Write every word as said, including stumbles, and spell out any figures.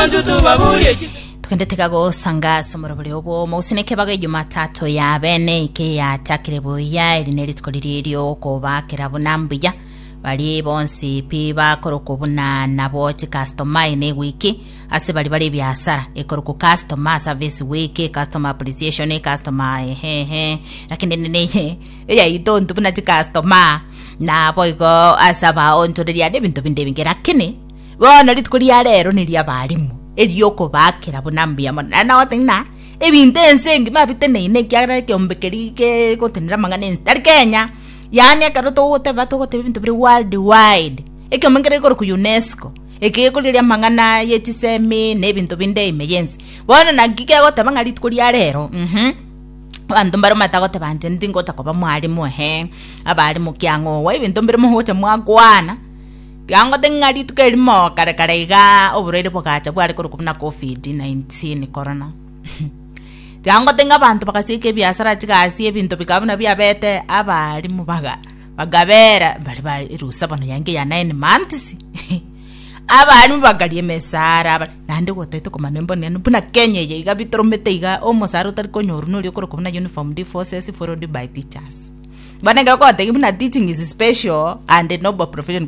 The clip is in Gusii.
Abantu tubabulie chise. Tugendete gagosanga ase omorobori obwo mousineke baga Jumatatu ya bene ike yatakire buya. Eri nerituko riri riokobakera buna mbuya bari bonsi pi bakorokwo buna nabo chicustomer ene wiki ase bari bari ebiasara ekorokwo customer service week, customer appreciation, customer ehehe, lakini nene eyaito ntu buna chicustomer nabo igo ase abaonchoreria na ebinto binde ebinge. Lakini bono rituko ria rero ni ria abarimu eriokobakera buna mbuya mono. Na nagotebi ng'a ebinto ense engima biteneine ekiagera ekeombe keri kegotenera amang'ana ense tari Kenya, yaani ekero togoteba togoteba ebinto bire world wide. Ekeombe nkere gekorokwa UNESCO eke gekorigereria amang'ana ya chisemi na ebinto binde ime ya ense. Bono naki kegoteba ng'a rituko ria rero mhm abanto mbare omanyete agoteba inche ntingocha koba mwalimu ehe abarimu kiang'owa ebinto mbire mogocha mwakwana. Tiga ngote ng'a rituko erimo kare kare iga oborwaire bogacha bware korokwa buna COVID nineteen corona. Tiga ngote ng'a abanto bagasieka ebiasara, chigasi, ebinto bikaba buna biabete abarimu baga bagabera bari ba erusa bono yaenge ya nine months, abarimu bakaria emesara aba naende gotaete komanya mbone buna Kenya eye iga bitoromete iga omosara otari konyorwa noria okorokwa buna uniformed forces followed by teachers. Bono ekero ogotebia buna teaching is special and noble profession.